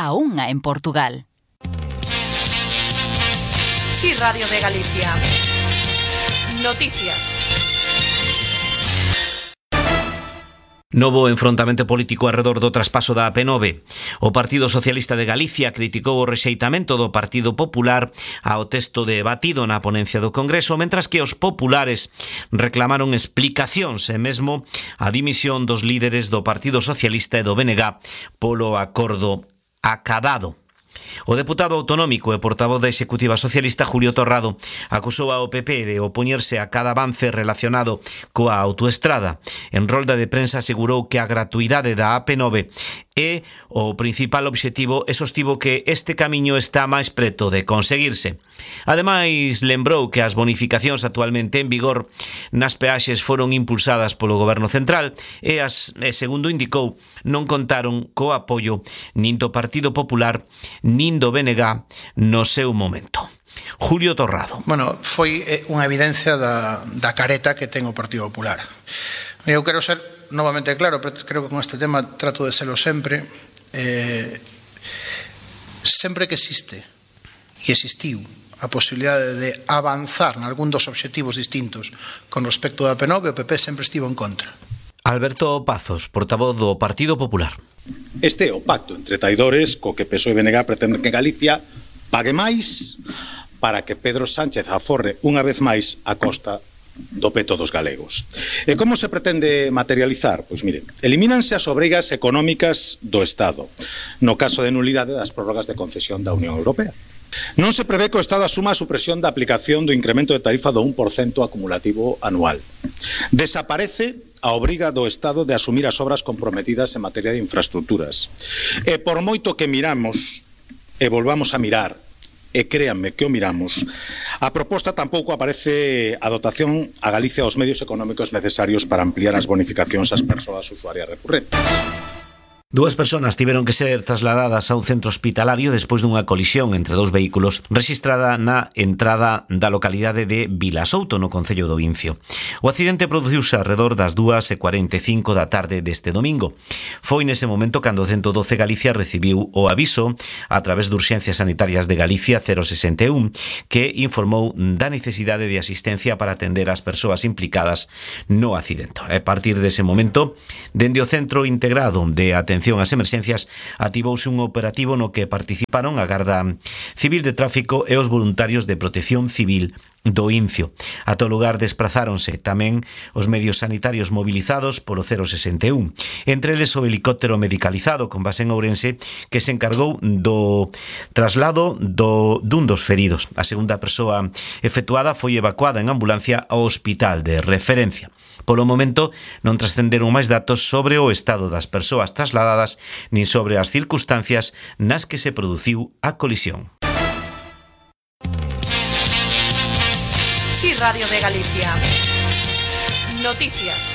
a unha en Portugal. Sí, Radio de Galicia. Noticias. Novo enfrontamento político arredor do traspaso da AP9. O Partido Socialista de Galicia criticou o rexeitamento do Partido Popular ao texto debatido na ponencia do Congreso, mentras que os populares reclamaron explicacións e mesmo a dimisión dos líderes do Partido Socialista e do BNG polo acordo acadado. O deputado autonómico e portavoz da Executiva Socialista Julio Torrado acusou ao PP de opoñerse a cada avance relacionado coa autoestrada. En rolda de prensa asegurou que a gratuidade da AP9 é o principal obxectivo e sostivo que este camiño está máis preto de conseguirse. Ademais, lembrou que as bonificacións actualmente en vigor nas peaxes foron impulsadas polo Goberno Central e, segundo indicou, non contaron co apoio nin do Partido Popular nin do BNG no seu momento. Julio Torrado. Bueno, foi unha evidencia da careta que ten o Partido Popular. Eu quero ser novamente claro, pero creo que con este tema trato de serlo sempre. Sempre que existe e existiu a posibilidade de avanzar nalgún dos obxectivos distintos con respecto da AP9, o PP sempre estivo en contra. Alberto Pazos, portavoz do Partido Popular. Este é o pacto entre traidores co que PSOE e BNG pretenden que Galicia pague máis para que Pedro Sánchez aforre unha vez máis a costa do peto dos galegos. E como se pretende materializar? Pois mire, elimínanse as obrigas económicas do Estado, no caso de nulidade das prórrogas de concesión da Unión Europea. Non se prevé que o Estado asuma a supresión da aplicación do incremento de tarifa do 1% acumulativo anual. Desaparece a obriga do Estado de asumir as obras comprometidas en materia de infraestructuras. E por moito que miramos e volvamos a mirar, e créanme que o miramos, a proposta tampouco aparece a dotación a Galicia aos medios económicos necesarios para ampliar as bonificacións ás persoas usuarias recurrentes. Dúas persoas tiveron que ser trasladadas a un centro hospitalario despois dunha colisión entre dous vehículos rexistrada na entrada da localidade de Vilasouto, no concello do Incio. O accidente produciuse alrededor das 2:45 da tarde deste domingo. Foi nese momento cando o 112 Galicia recibiu o aviso a través de Urxencias Sanitarias de Galicia 061, que informou da necesidade de asistencia para atender as persoas implicadas no accidente. A partir dese momento, dende o Centro Integrado de Atención ás emerxencias, activouse un operativo no que participaron a Garda Civil de Tráfico e os voluntarios de Protección Civil do Incio. Ata o lugar desprazáronse tamén os medios sanitarios movilizados polo 061, entre eles o helicóptero medicalizado con base en Ourense que se encargou do traslado dun dos feridos. A segunda persoa efectuada foi evacuada en ambulancia ao hospital de referencia. Polo momento non trascenderon máis datos sobre o estado das persoas trasladadas nin sobre as circunstancias nas que se produciu a colisión. Sí, Radio de Galicia. Noticias.